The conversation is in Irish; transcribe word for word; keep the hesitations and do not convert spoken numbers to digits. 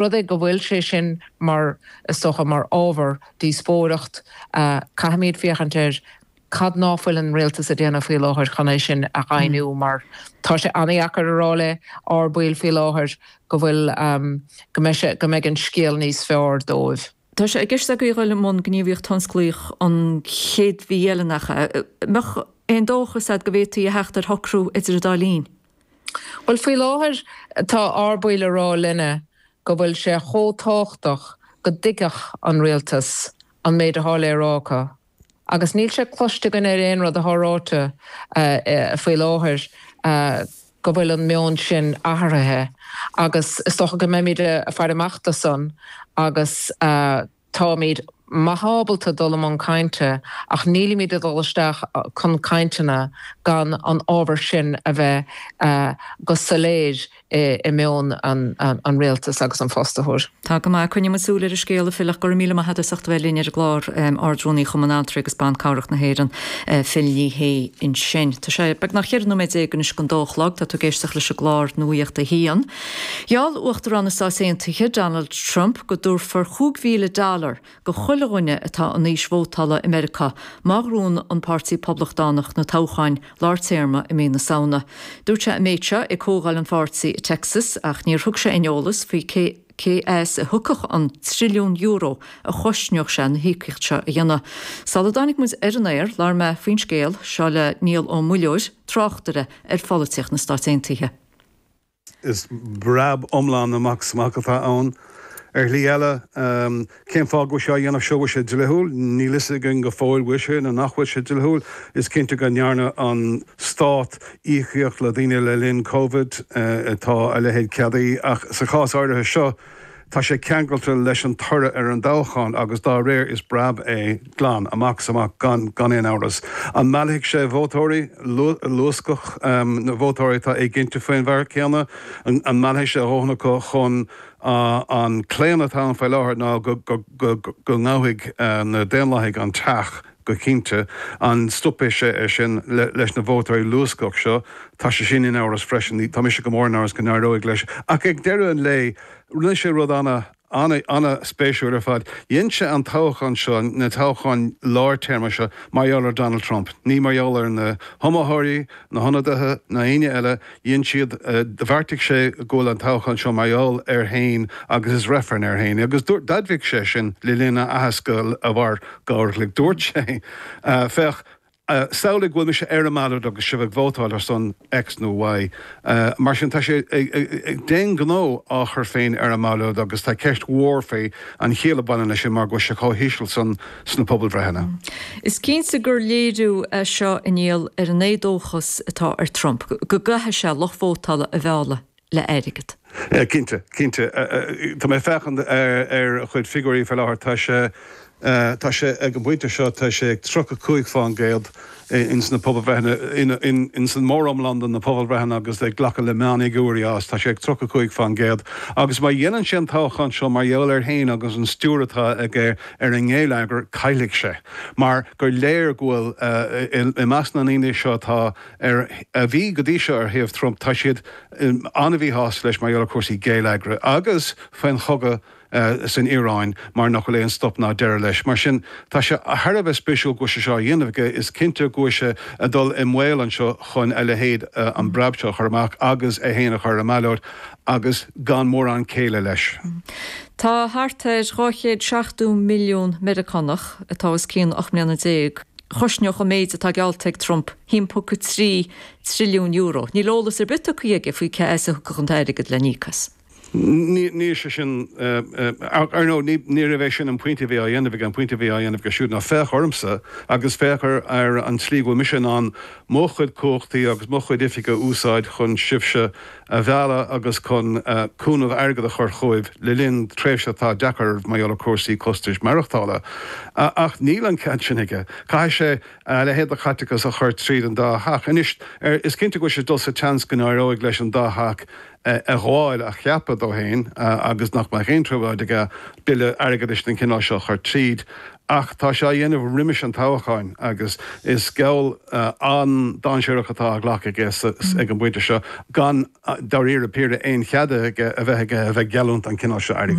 rud é go bhfuil sé sin mar is dócha mar ábhar díospóireacht uh, caithfimid féachaint ar cad ná fuil an rialtas ag déanamh faoi láthair chun é sin a ghainiú mar tá sé an-deacair a rá le ár baill faoi láthair go bhfuil um, go mbeidh go mbeidh an scéal níos fearr dóibh. Tá sé i gceist acu dul i mbun gníomhaíocht thionsclaíoch an chéad mhí eile nach mbeadh aon dóchas go bhféadfaí a theacht ar shocrú idir an dá linn. Well faoi láthair tá ár baill ag rá linne go bhfuil sé chomh tábhachtach go dtuigfeadh an rialtas an méid atá le rá acu. Agus níl sé cloiste againn ar aon rud atá ráite uh, uh, faoi láthair uh, go bhfuil an meon sin athraithe agus is dócha go mbeimid ag faire amach dó san agus uh, táimid maith ábalta dul i mbun cainte ach nílimid ag dul isteach chun cainteanna gan an ábhar sin a bheith uh, go soiléir i, i meon an, an, an rialtas agus an fostaitheoir. Tá go maith coinneoimid súil ar an scéal a Phil ach go raibh míle maith agat as ucht bheith linn ar an gclár um, Ardrúnaí Chumann Altraí agus Ban Cabhrach na hÉireann uh, Phil Ní Sheaghdha ansin. Tá sé beagnach ceithre nóiméad déag anois don dó a chlog tá tú ag éisteacht leis an gclár Nuacht a hAon. Gheall Uachtarán na Stát Aontaithe Donald Trump go dtabharfar cúig mhíle dollar do chuile dhuine atá in aois vótála i Meiriceá má ghnóthaíonn an Páirtí Poblachtánach na toghcháin lár téarma i mí na Samhna. Dúirt sé an méid seo ag comhdháil an pháirtí i Texas ach níor thug sé aon eolas faoi cé cé as a thiocfadh an trilliún euro a chosnódh sé na híocaíocht seo a dhéanamh. Sula dtáinig muid ar an aer labhair mé faoin scéal seo le Niall Ó Muilleoir tráchtaire ar pholaitíocht na Stát Aontaithe. Is breab iomlán amach is amach atá ann. Ar shlí eile um, cén fáth go seo dhéanamh seo sé dlíthiúil, níl a fhios againn go fóill bhfuil sé nó nach bhfuil sé dlíthiúil, is cinnte go ndearna an stát íocaíocht le daoine le linn COVID uh, atá a leithéid ceadaithe ach sa chás áirithe seo, tá sé ceangailte leis an toradh ar an dtoghchán agus dá réir is breab é glan amach amach gan gan aon amhras. An meallfaidh sé vótóirí luascach um, na vótóirí atá éiginnte faoin bhfear céanna an, an meallfaidh sé a dhóthain chun uh, an claonadh atá ann faoi láthair ná go, go, go, go ngabhfaidh uh, na Daonlathaigh an teach go cinnte an stopfaidh sé é sin le, leis na vótóirí luascach seo tá sé sin in amhras freisin tá mise go mór in amhras go n-éireoidh leis ach ag deireadh an lae rinne sé rud ana ana an-spéisiúil ar fad. Dhein sé an toghchán seo na toghcháin lár téarma seo mar gheall ar Donald Trump. Ní mar gheall ar na hiomaitheoirí, na hionadaithe na héinne eile, dhein siad uh, bheartaigh sé go bhfuil an toghchán seo mar gheall air féin agus is reifreann air féin. agus d'admhaigh sé sin le linn a aitheasc a mhair dhá uair dúirt sé uh, féach Uh, Samhlaigh go bhfuil mise ar an mballóid agus sibh ag vótáil ar son X nó Y. Uh, mar sin tá sé den gnó á chur féin ar an mballóid agus tá ceist mhór fé an chiall a bhaineann leis sin mar go sé chomh híseal san sna pobalbhreitheanna. Is cinnte gur léiriú é seo inniu ar an éadóchas atá ar Trump, go gcaithfidh sé lucht vótála a mhealladh le airgead. Cinnte, cinnte Tá mé ag féachaint ar ar chuid figiúirí faoi láthair tá sé tá sé ag an bpointe seo tá sé ag tríocha cúig faoin gcéad ins na pobalbhreitheanna in san móriomlán na pobalbhreitheanna agus ag glacadh le meánfhigiúirí as tá sé ag tríocha cúig faoin gcéad. agus má dhéanann sé an toghchán seo mar gheall air féin agus an stiúir atá aige ar an ngeilleagar caillfidh sé. Mar gur léir go bhfuil i measc na ndaoine seo atá ar a bhí go dtí seo ar thaobh Trump tá siad an-mhíshásta leis mar gheall ar chúrsaí geilleagair agus faoin chogadh uh, san Iaráin mar nach bhfuil aon stop ná deireadh leis. Mar sin tá sé thar a bheith spéisiúil go sé seo dhéanamh is cinnte go sé a dul i mbaol anseo chun a leithéid uh, an breab seo chur amach agus é féin a chur ar an mballóid agus gan mórán céille leis. Tá thart ar dhá chéad seachtó milliún Meiriceánach atá os cionn ocht mbliana déag. Chosnódh an méid atá geallta ag Trump a haon ponc trí trilliún euro. Níl eolas ar bith aige faoi cé as a thiocfadh an t-airgead le n-íoc as. Ní sé sin ar nó ní raibh sin an pointe bhí á dhéanamh an pointe bhí á dhéanamh aige siúd ná féach ormsa agus féach ar an tslí go bhfuil mise in ann mo chuid cumhachtaí agus mo chuid oifige a úsáid chun sibhse a mhealladh agus chun cúnamh airgead a chur chugaibh le linn tréimhse atá deacair mar gheall ar chúrsaí costais maireachtála. Ach níl an cead sin aige. Caithfidh sé a leithéid de chaiteachas a chur tríd an dá theach. Anois is cinnte go bhfuil sé dul sa tseans go n-éireoidh leis an dá theach a ghabháil a cheapadh dó féin agus nach mbeidh aon trioblóid aige bille airgeadais den chineál seo chur tríd Ach tá sé á dhéanamh roimis an toghcháin agus is geall an-dainséarach atá á ghlacadh aige ag an bpointe seo gan dáiríre píre aon chead aige a bheith aige a bheith ag geallúint an cineál seo airgid.